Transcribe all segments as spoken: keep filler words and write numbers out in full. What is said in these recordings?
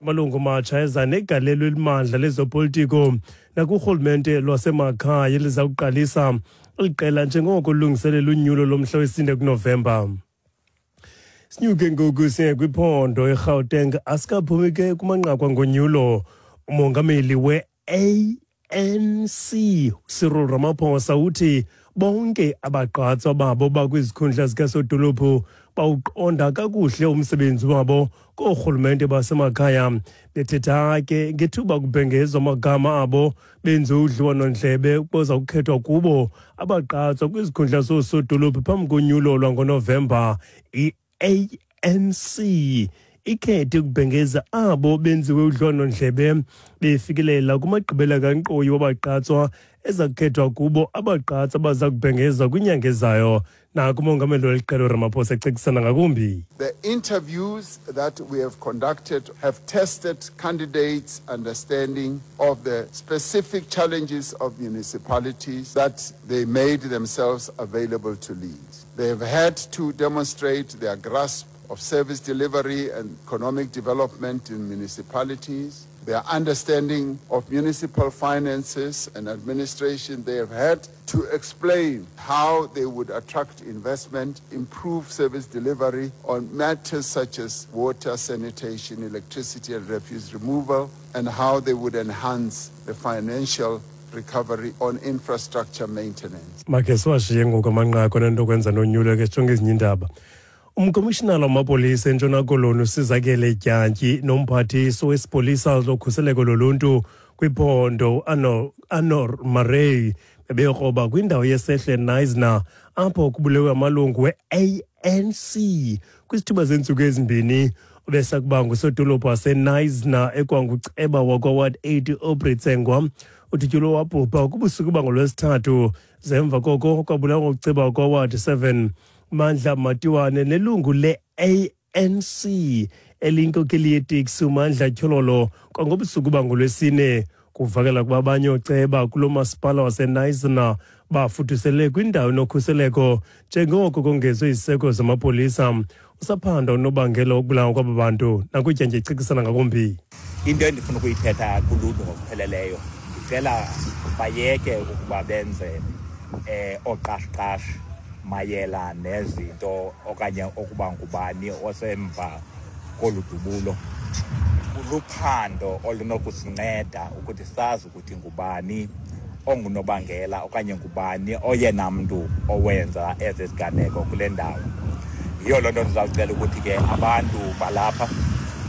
Amalungu matsha eza negalelo elimandla lezopolitiko nakurhulumente lwasemakhaya eliza kuqalisa eliqela njengoko lungiselela unyulo lomhla wesine kuNovemba. Sinyuke ngoku siye kwiphondo eGauteng, asikaphumi ke kumanqaku angonyulo. Umongameli we-A N C Cyril Ramaphosa uthi bonke abagqatswa babo bakwizikhundla zikasodolophu bawuqonda kakuhle umsebenzi wabo koorhulumente basemakhaya. Bethetha ke ngethuba kubhengezwa amagama abo benze udliwano-ndlebe kuza kukhethwa kubo abagqatswa kwizikhundla zoosodolophu phambi konyulo lwangoNovemba. I A N C ikhethe ukubhengeza abo benziwe udliwano-ndlebe befikelela kumagqibela kankqoyi wabagqatswa eza kukhethwa kubo abagqatswa baza kubhengezwa kwinyanga ezayo. Naku umongameli weli qela uRamaphosa ecekisana ngakumbi. The interviews that we have conducted have tested candidates' understanding of the specific challenges of municipalities that they made themselves available to lead. They have had to demonstrate their grasp of service delivery and economic development in municipalities, their understanding of municipal finances and administration. They have had to explain how they would attract investment, improve service delivery on matters such as water, sanitation, electricity and refuse removal, and how they would enhance the financial recovery on infrastructure maintenance. Makhe siwashiye ngoku amanqaku anento kwenza nonyulo, ke sijonge ezinye iindaba. Umkomishinala wamapolisa eNtshona Koloni uSizakele Dyantyi nomphathiso wesipolisa lokhuseleko loluntu kwiphondo Anor Murray bebekroba kwindawo yesehle Knysna apho kubulewe amalungu we-A N C kwisithuba zeentsuku ezimbini. Ubesakuba ngusodolophu waseKnysna ekwanguceba wakwa-Ward eight Aubrey Tsengwa udutyulwe wabhubha kubusuku bangolwesithathu. Zemva koko kwabulawa nguceba wakwa-Ward seven Mandla Matiwane nelungu le-A N C eliyinkokeli yeteksi uMandla Tyhololo kwangobusuku bangolwesine. Kuvakala kuba abanye ooceba kulo masipala waseKnysna bafudusele kwindawo enokhuseleko njengoko kongezwe iziseko zamapolisa. Usaphanda unobangela wokubulawa kwaba bantu nakutyanje icekisana ngakumbi. Into endifuna ukuyithetha kuluntu ngokupheleleyo, ndicela bayeke ukuba benze eh oqashqash mayela nezinto okanye okuba ngubani osemva kolu dubulo. Luphando olunokusinceda ukuthi sazi ukuthi ngubani ongunobangela okanye ngubani oyena mntu owenza ezi ziganeko kule ndawo. Yiyo loo nto ndizawucela ukuthi ke abantu balapha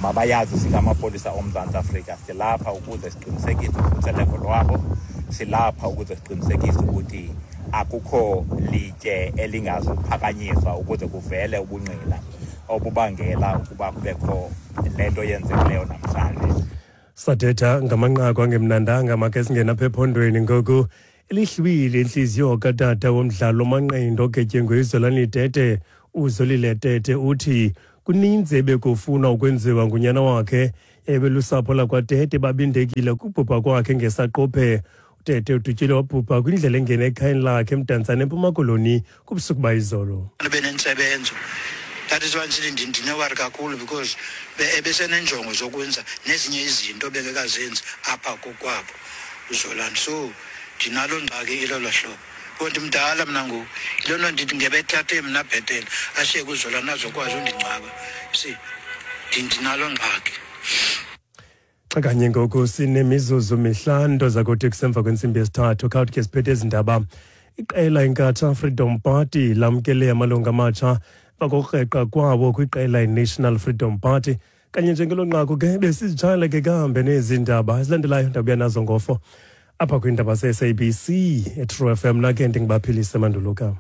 mabayazi singamapolisa oMzantsi Afrika, silapha ukuze siqinisekise ukhuseleko lwabo, silapha ukuze siqinisekise ukuthi akukho litye elingazuphakanyiswa ukuze kuvele ubungqina obubangela ukuba kubekho le nto yenzekileyo namhlanje. Sathetha ngamanqaku angemnandanga, makhe singene apha ephondweni ngoku. Elihlwile intliziyo katata womdlalo wamanqindi ogetyengwe uZolani Tete. UZolile Tete uthi kuninzi ebekufuna ukwenziwa ngunyana wakhe. Ebelusapho lakwaTete babindekile kubhubha kwakhe ngesaquphe. Tete udutyile wabhubha kwindlela engena ekhayeni lakhe eMdantsane eMpuma Koloni kubusuku bayizolo. Benentsebenzo. That is why ndithi ndinewari kakhulu because ebesenenjongo zokwenza nezinye izinto bengekazenzi apha kokwabo uZolani. So ndinalo ngxaki ilolo hlobo. Kodwa mdala mna ngoku, yiloo nto ndithi ngebethathe mna bhetele ashiye kuZolani azokwazi undingcwaba. See, ndinalo ngxaki. Xa kanye ngoku sinemizuzu mihlanu zakuthi kusemva kwentsimbi yesithathu. Khawuthi ke siphethe ezi ndaba. Iqela Inkatha Freedom Party lamkele amalungu amatsha bakokreqa kwawo kwiqela iNational Freedom Party. Kanye njengelo nqaku ke besizitshayela ke kambe nezi ndaba ezilandelayo ndabuya nazo ngofo apha kwiindaba ze-S A B C eTrue F M. Nake ndingibaphilise manduluka.